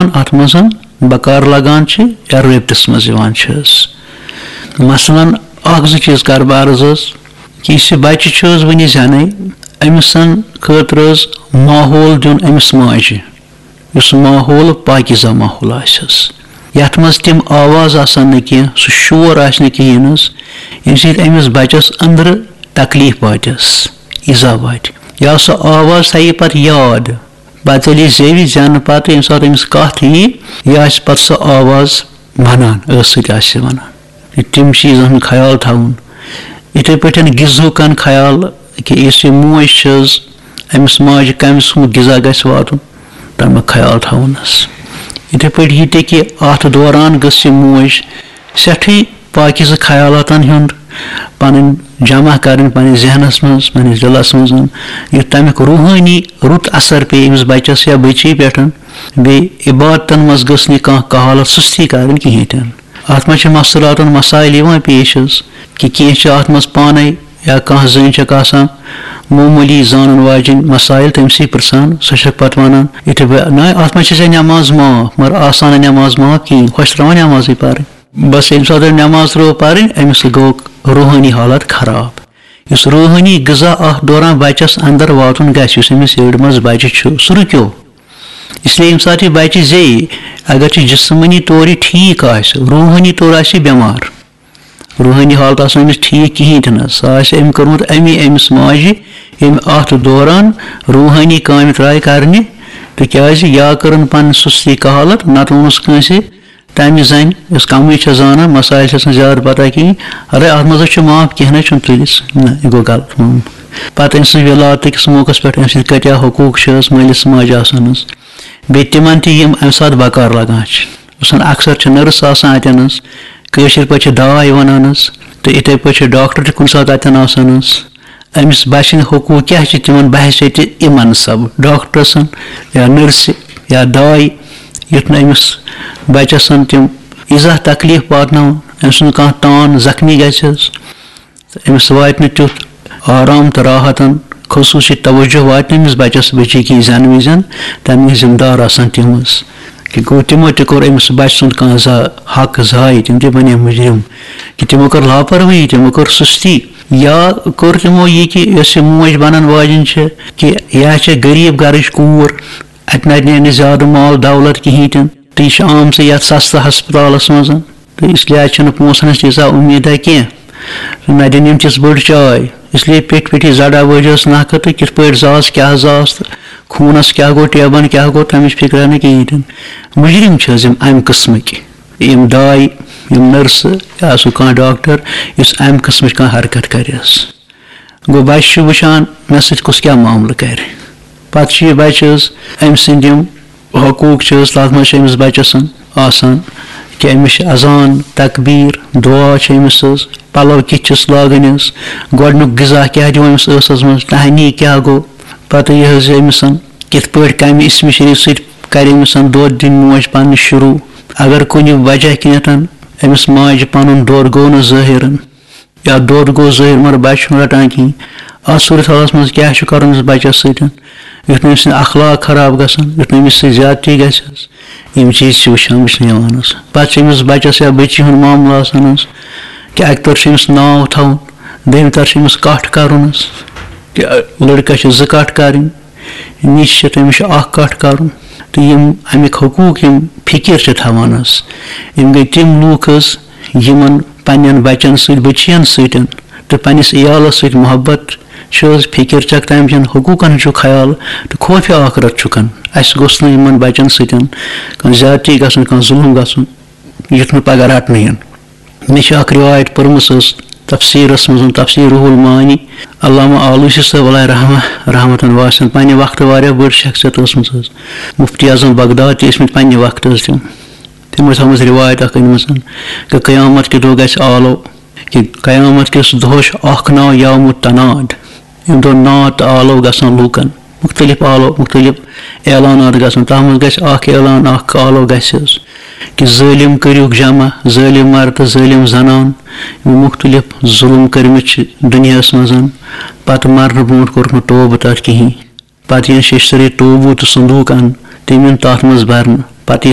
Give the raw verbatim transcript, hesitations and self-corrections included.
اَتھ منٛز بکار لگان چھِ یا رٲبطس منٛز یِوان چھِ حظ۔ مثلاً، اکھ زٕ چیٖز کَرٕ بہٕ عرض حظ، کہِ یُس یہِ بچہٕ چھُ حظ وٕنہِ زٮ۪نَے، أمِس خٲطرٕ حظ ماحول دیُن أمِس ماجہِ، یُس ماحول پاکیٖزہ ماحول آسہِ حظ، یَتھ منٛز تِم آواز آسَن نہٕ کینٛہہ، سُہ شور آسہِ نہٕ کِہیٖنۍ حظ، ییٚمہِ سۭتۍ أمِس بچس أنٛدرٕ تکلیٖف واتٮ۪س، ایٖزا واتہِ، یا سۄ آواز تھایہِ پتہٕ یاد۔ پتہٕ ییٚلہِ یہِ زیوِ زٮ۪نہٕ پتہٕ، ییٚمہِ ساتہٕ أمِس کتھ یی، یہِ آسہِ پتہٕ سۄ آواز ونان، ٲسہٕ سۭتۍ آسہِ یہِ ونان۔ تہٕ تِم چیٖزن ہُنٛد خیال تھاوُن۔ یِتھے پٲٹھۍ غذہُک خیال، کہِ یُس یہِ موج چھِ حظ، أمِس ماجہِ کمہِ قٕسمُک غذا گژھِ واتُن، تمیُک خیال تھاوُن حظ۔ یِتھے پٲٹھۍ یہِ تہِ کہِ اتھ دوران گٔژھ یہِ موج سٮ۪ٹھٕے پاکیزٕ خیالاتن ہُنٛد پنٕنۍ جمع کرٕنۍ پننِس ذہنس منٛز، پننِس دلس منٛز، یُتھ تمیُک روحٲنی رُت اثر پیٚیہِ أمِس بچس یا بچی پٮ۪ٹھ۔ بیٚیہِ عبادتن منٛز گٔژھ نہٕ کانٛہہ کہالت سستی کرٕنۍ کِہیٖنۍ تہِ نہٕ۔ اتھ منٛز چھِ مستوراتن مسائل یِوان پیش حظ، کہِ کینٛہہ چھِ اتھ منٛز پانے یا کانٛہہ زٔنۍ چھکھ آسان معموٗلی زانن واجٮ۪ن مسائل، تٔمۍ سٕے پرژھان، سۄ چھکھ پتہٕ ونان، یِتھے پٲٹھۍ، نہ، اتھ منٛز چھِ ژےٚ نٮ۪ماز معاف، مگر آسان نہٕ نٮ۪ماز معاف کِہیٖنۍ، ہۄ چھِ ترٛاوان نٮ۪مازٕے پرٕنۍ۔ بس ییٚمہِ ساتہٕ نٮ۪ماز ترٲو پرٕنۍ، أمِس گوٚو روحٲنی حالت خراب۔ یُس روحٲنی غذا اتھ دوران بچس اندر واتُن گژھِ، یُس أمِس یٔڈ منٛز بچہِ چھُ، سُہ رُکیو۔ اس لیے ییٚمہِ ساتہٕ یہِ بچہِ زیٚیہِ، اگر چھُ جسمٲنی طور یہِ ٹھیٖک آسہِ، روحٲنی طور آسہِ یہِ بٮ۪مار، روحٲنی حالت آسہِ نہٕ أمِس ٹھیٖک کِہیٖنۍ تہِ نہٕ، سۄ آسہِ أمۍ کٔرمٕژ اَمی أمِس ماجہِ، ییٚمۍ اتھ دوران روحٲنی کامہِ ترٛایہِ کرنہِ، تِکیازِ یا کٔرٕن پنٕنۍ سُستی کہالت، نتہٕ ووٚنُس کٲنٛسہِ، تمہِ زنہِ، یۄس کمٕے چھےٚ زانان، مسائل چھس نہٕ زیادٕ پتہ کِہیٖنۍ، اَدے، اتھ منٛز چھُ معاف، کینٛہہ نہ چھُنہٕ، تُلِس، نہ، یہِ گوٚو غلط معاملہٕ۔ پتہٕ أمۍ سٕنٛز ولادتٕکِس موقعس پٮ۪ٹھ أمۍ سٕنٛدۍ کۭتیاہ حقوٗق چھِ حظ مٲلِس ماجہِ آسان حظ۔ بیٚیہِ تِمن تہِ یِم امہِ ساتہٕ بکار لگان چھِ۔ مثلاً اکثر چھِ نٔرس آسان اتٮ۪ن حظ، کٲشِر پٲٹھۍ چھِ داے ونان حظ، تہٕ یِتھے پٲٹھۍ چھِ ڈاکٹر تہِ کُنہِ ساتہٕ اتٮ۪ن آسان حظ۔ أمِس بچہٕ سٕنٛدۍ حقوٗق کیٛاہ چھِ تِمن بحیثیت اِمن سب ڈاکٹرسن یا نٔرسہِ یا داے، یُتھ نہٕ أمِس بچس تِم ایٖزاہ تکلیٖف واتناوَن، أمۍ سُنٛد کانٛہہ تان زخمی گژھِ حظ، تہٕ أمِس واتہِ نہٕ تیُتھ آرام تہٕ راحتن، خصوٗصی توجہ واتہِ نہٕ أمِس بچس بچی کِہیٖنۍ زٮ۪نہٕ وِزٮ۪ن، تَمِکۍ ذمہٕ دار آسن تِم حظ۔ کہِ گوٚو تِمو تہِ کوٚر أمِس بچہٕ سُنٛد کانٛہہ زا-، حق ضایع، تِم تہِ بنے مُجرِم۔ کہِ تِمو کٔر لاپروٲہی، تِمو کٔر سُستی، یا کٔر تِمو یہِ کہِ یۄس یہِ موج بنن واجٮ۪ن چھِ، کہِ یا چھِ غریٖب گرٕچ کوٗر، اتہِ نتہِ نیرِ نہٕ زیادٕ مال دولت کِہیٖنۍ تہِ نہٕ، تہٕ یہِ چھِ آمژٕ یتھ سستہٕ ہسپتالس منٛز، تہٕ اس لیے چھنہٕ پونٛسن ہٕنٛز تیٖژاہ اُمیٖدہ کینٛہہ۔ نہ دِن یِم تِژھ بٔڑ چاے، اس لیے پیٚٹھۍ پیٚٹھی زڑا وٲجِس نکھٕ تہٕ کِتھ پٲٹھۍ زاس، کیٛاہ زاس تہٕ خوٗنس کیٛاہ گوٚو، ٹیبن کیٛاہ گوٚو، تمِچ فکرا نہٕ کِہیٖنۍ تہِ نہٕ۔ مُجرِم چھِ حظ یِم امہِ قٕسمٕکۍ، یِم داے، یِم نٔرسہٕ یا سُہ کانٛہہ ڈاکٹر، یُس امہِ قٕسمٕچ کانٛہہ حرکت کرِ حظ۔ گوٚو بچہِ چھُ وٕچھان، مےٚ سۭتۍ کُس کیٛاہ معاملہٕ کرِ۔ پتہٕ چھُ یہِ بچہِ حظ، أمۍ سٕنٛدۍ یِم حقوٗق چھِ حظ، تتھ منٛز چھِ أمِس بچس آسان کہِ أمِس چھِ اذان، تکبیٖر، دُعا چھِ أمِس حظ، پلو کِتھ چھِس لاگٕنۍ حظ، گۄڈٕنیُک غذا کیٛاہ دِمو أمِس ٲسس منٛز، تہنی کیٛاہ گوٚو، پتہٕ یہِ حظ یہِ أمِس کِتھ پٲٹھۍ کمہِ اسمِ شریٖف سۭتۍ کرِ أمِس دۄد دِنۍ موج پننہِ شروٗع۔ اگر کُنہِ وجہ کِنیتھ أمِس ماجہِ پنُن دۄد گوٚو نہٕ ظٲہِر، یا دۄد گوٚو ظٲہِر مگر بچہِ چھُنہٕ رٹان کِہیٖنۍ۔ اتھ صورت حالس منٛز کیٛاہ چھُ کرُن أمِس بچس سۭتۍ؟ یُتھ نہٕ أمۍ سٕنٛدۍ اخلاق خراب گژھن، یُتھ نہٕ أمِس سۭتۍ زیادتی گژھِ حظ۔ یِم چیٖز چھِ وٕچھان، وٕچھنہٕ یِوان حظ۔ پتہٕ چھِ أمِس بچس یا بچی ہُنٛد معاملہٕ آسان حظ، کہِ اکہِ طرفہٕ چھُ أمِس ناو تھاوُن، دوٚیمہِ طرفہٕ چھُ أمِس کٹھ کرُن حظ، کہِ لڑکس چھِ زٕ کٹھ کرٕنۍ، نِچہِ چھِ، تٔمِس چھُ اکھ کٹھ کرُن۔ تہٕ یِم امیِکۍ حقوٗق یِم فکر چھِ تھاوان حظ، یِم گٔے تِم لوٗکھ حظ، یِمن پننٮ۪ن بچن سۭتۍ، بچین سۭتۍ تہٕ پننِس عیالس سۭتۍ محبت چھِ حظ، فکر چھکھ تمہِ چٮ۪ن حقوٗقن ہُنٛد چھُ خیال تہٕ خوفِ آخرت چھُکھ۔ اسہِ گوٚژھ نہٕ یِمن بچن سۭتۍ کانٛہہ زیادتی گژھُن، کانٛہہ ظُلم گژھُن، یُتھ نہٕ پگاہ رٹنہٕ یِن۔ مےٚ چھِ اکھ رِوایت پٔرمٕژ حظ تفسیٖرس منٛز، تفسیٖر روح المعانی، علامہ آلوسی صٲب علیہ رحمہ، رحمتن واسعن، پننہِ وقتہٕ واریاہ بٔڑ شخصیت ٲسمٕژ حظ۔ مفتی اعظم بغداد تہِ ٲسمٕتۍ پننہِ وقتہٕ حظ تِم۔ تِمو چھِ تھٲومٕژ رِوایت اکھ أنمٕژ، کہِ قیامت کہِ دۄہ گژھِ آلو، کہِ قیامت کِس دۄہس چھُ اکھ ناو یوم التناد۔ ییٚمہِ دۄہ ناد تہٕ آلو گژھن لوٗکن، مُختٔلِف آلو، مُختٔلِف اعلانات گژھن، تَتھ منٛز گژھِ اکھ اعلان، اکھ آلو گژھِ حظ، کہِ ظٲلِم کٔرِوکھ جمع، ظٲلِم مرد تہٕ ظٲلِم زنان، یِمو مُختٔلِف ظُلُم کٔرمٕتۍ چھِ دُنیاہَس منٛز، پتہٕ مرنہٕ برونٛٹھ کوٚرُکھ نہٕ توبہٕ تَتھ کِہیٖنۍ۔ پتہٕ یِن شیٚشتٕرٕے توبوٗ تہٕ صندوٗق اَنہٕ، تِم یِن تَتھ منٛز بَرنہٕ۔ پتہٕ یہِ